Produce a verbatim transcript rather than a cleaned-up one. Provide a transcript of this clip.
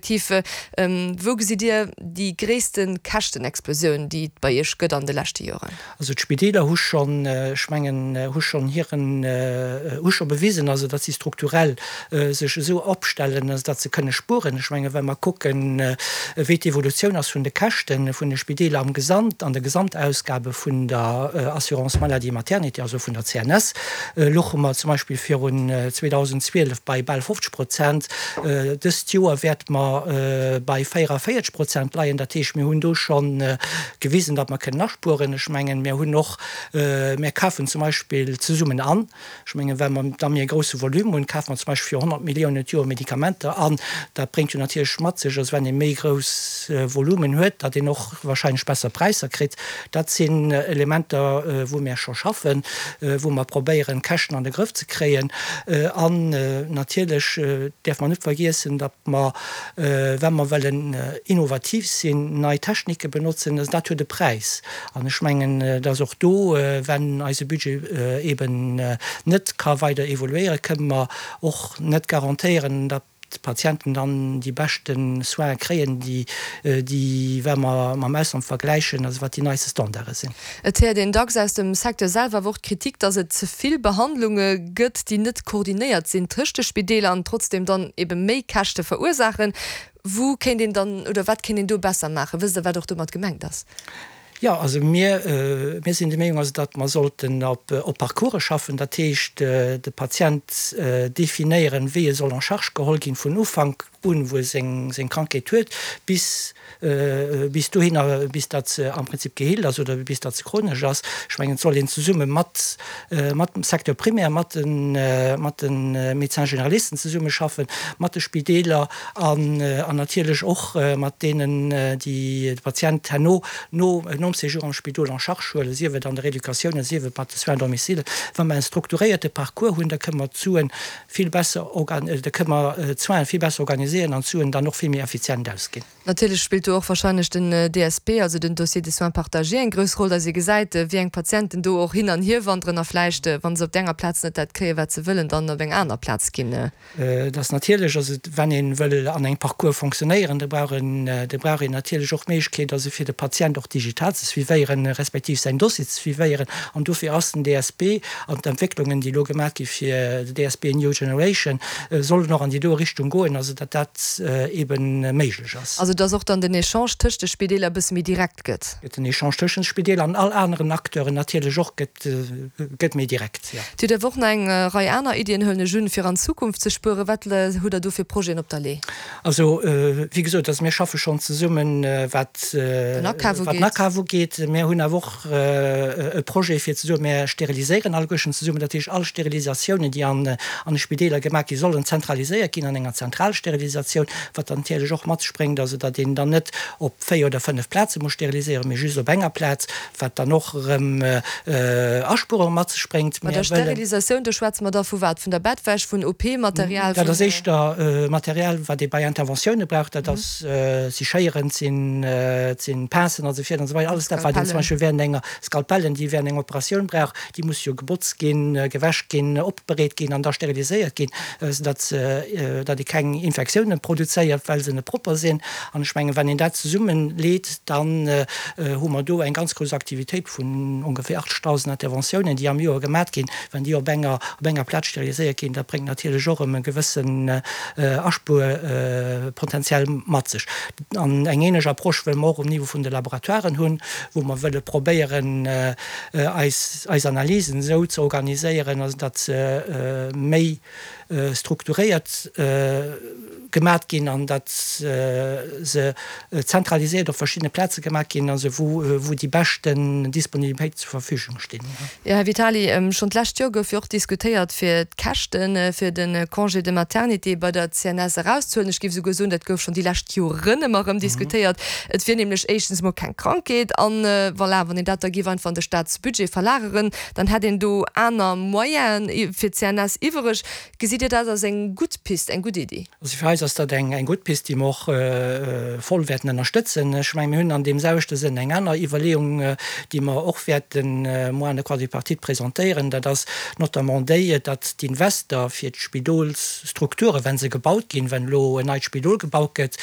Respektiv wou gesitt Dir déi gréisste Käschtenexplosioun, déi et bei Iech gëtt an de leschte Joren? Also d'Spideeler hu schonn, ech mengen, hu schonn hiren, hu scho bewisen, also datt si strukturell sech esou opstellen, also datt se kënne spueren. Ech mengen, wa mer kucken, wéi d'Evolutioun ass vun de Käschte vun de Spideeler am Gesamt, an de Gesamtausgabe vun der Assurance maladie maternité, also vun der C N S, louche mer zum Beispill virun zweedausendzwielef bei bal fofzeg Prozent. Dëst Joer wäerte mer bei véierundavéierzeg Prozent leien. Dat heescht, mir hunn do scho gewisen, datt mer kënnen aspueren. Ech mengen, mir hunn och, mir kafen zum Beispill zesummen an. Ech mengen, well mer da méi e grousse Volume hunn, kafe mer zum Beispill fir honnert Milliounen d'Joer Medikamenter an. Dat bréngt jo natierlech mat sech, dass wann ee méi grouss Volumen huet, datt een och wahrscheinlech besser Präisser kritt. Dat sinn Elementer, wou mir scho schaffen, wou mer probéieren, d'Käschten an de Grëff ze kréien. An natierlech däerf mer net vergiessen, datt mer, wa mer wëllen innovativ sinn, nei Technike benotzen, dat huet e Präis. An ech mengen, datt och do, wann eise Budget eben net ka weider evoluéieren, kënne mer och net garantéieren, datt d'Patienten dann déi beschte Soine kréien, déi, déi, wa mer mam Ausland vergläichen, also wat déi neiste Standarde sinn. Et héiert een dacks aus dem Secteur selwer awer och d'Kritik, datt et ze vill Behandlunge gëtt, déi net koordinéiert sinn tëscht de Spideeler an trotzdeem dann ebe méi Käschte verursaachen. Wou kéint een dann oder wat kéint een do besser maachen? Wësst Der, wat och domat gemengt ass? Jo, also mir, mir sinn der Meenung, also datt mer sollten op, op Parcourse schaffen, dat heescht de Patient definéieren, wéi e soll en charge geholl ginn vun Ufank un, wou e seng, seng Krankheet huet, bis, bis dohinner, bis datt se am Prinzip geheelt ass oder bis datt se chronesch ass. Ech mengen, et soll een zesumme mat, mat dem Secteur primaire, mat de, mat de Médecins généralisten zesummeschaffen, mat de Spideeler an, an natierlech och mat deenen, déi de Patient herno no, nom Séjour am Spidol en charge huelen, sief et an der Rééducatioun, sief et mat de Soins à domicile. Wa mer en strukturéierte Parcours hunn, da kënne mer d'Suen vill besser, da kënne mer d'Soinen vill besser organiséieren an d'Suen dann och vill méi effizient ausginn. Natierlech spillt do och wahrscheinlech den D S P, also den Dossier de soins partagé, eng grouss Roll, dass ee gesäit, wéi eng Patienten do och hin an hier wanderen a vläicht, wa se op där enger Plaz net dat kréien, wat se wëllen, dann op eng aner Plaz ginn. Dat ass natierlech, also wann ee wëll an engem Parcours fonctionnéieren, da brauch een, da brauch een natierlech och d'Méiglechkeet, also fir de Patient och digital ze suivéieren, respektiv säin Dossier ze suivéieren. An dofir ass den D S P an d'Entwécklungen, déi elo gemaach gi fir de D S P New Generation, sollen och an déi do Richtung goen, also datt dat eben méiglech ass. Also dass och dann den Echange tëscht de Spideeler e bësse méi direkt gëtt. Den Echange tëschent Spideeler an all aneren Acteuren natierlech och gëtt, gëtt méi direkt, jo. Dir hutt awer och nach eng Rei aner Iddien, huelen ech un, fir an Zukunft ze spueren. Wat hutt Der do fir Projeten op der Lee? Also, wéi gesot, also mir schaffe schonn zesummen, wat den Akaf wat den ugeet. Akaf ugeet. Mir hunn awer och e Projet fir ze soen, mir steriliséieren alleguerten zesummen. Dat heescht, all Sterilisatiounen, déi an an de Spideeler gemaach ginn, sollen zentraliséiert ginn an enger Zentralsterilisatioun, wat dann natierlech och mat sech bréngt, also datt een dann net op véier oder fënnef Plaze muss steriliséieren, mee just op enger Plaz, wat dann och erëm Aspuerunge mat sech bréngt. Bei der Mir wëllen. Sterilisatioun, do schwätze mer da vu wat? Vun der Bettwäsch, vun O P-Material, Dat ass vun. éischter Material, wat ee bei Interventioune brauch. Dat ass, si Schéieren, et sinn, et sinn Pincen an esou virun an esou weider. Alles dat, wat een zum Skalpellen. Beispill während enger, Skalpellen, déi während enger Operatioun brauch, déi muss jo gebotzt ginn, gewäsch ginn, opbereet ginn an da steriliséiert ginn, soudatt se, datt ee keng Infektiounen produzéiert, well se net propper sinn. An ech mengen, wann een dat zesummenleet, dann hu mer do eng ganz grouss Aktivitéit vun ongeféier achtzegdausend Interventiounen, déi am Joer gemat ginn. Wann déi op enger, op enger Plaz steriliséiert ginn, dat bréngt natierlech och erëm e gewëssen Aspuerpotenzial mat sech. An eng ähnlech Approche wëlle mer och um Niveau vun de Laboratoiren hunn, wou mer wëlle probéieren, eis, eis Analysen esou ze organiséieren, also datt se méi strukturéiert gemat ginn an datt se zentraliséiert op verschiddene Plaze gemat ginn, also wou, wou déi beschten Disponibilitéit zur Verfügung stinn. Jo, Här Vitali, schonn d'lescht Joer gouf jo och diskutéiert, fir d'Käschte fir de Congé de maternité bei der C N S erauszehuelen. Ech géif esouguer soen, dat gouf schonn déi lescht Joren ëmmer erëm diskutéiert. Et wier nämlech éischtens emol keng Krankheet an, voilà, wann een dat da géif einfach an de Staatsbudget verlageren, dann hätt een do aner Moyene fir d'C N S iwwereg. Gesitt Dir dat als eng gutt Pist, eng gutt Iddi? Also fir eis ass dat eng eng gutt Pist, déi mer och voll wäerten ënnerstëtzen. Ech mengen, mir hunn an deem selwechte Sënn eng aner Iwwerleeung, déi mer och wäerten muer an der Quadripartite presentéieren. Dat ass notamment déi, datt d'Invester fir d'Spidolsstrukturen, wa se gebaut ginn, wann elo en neit Spidol gebaut gëtt,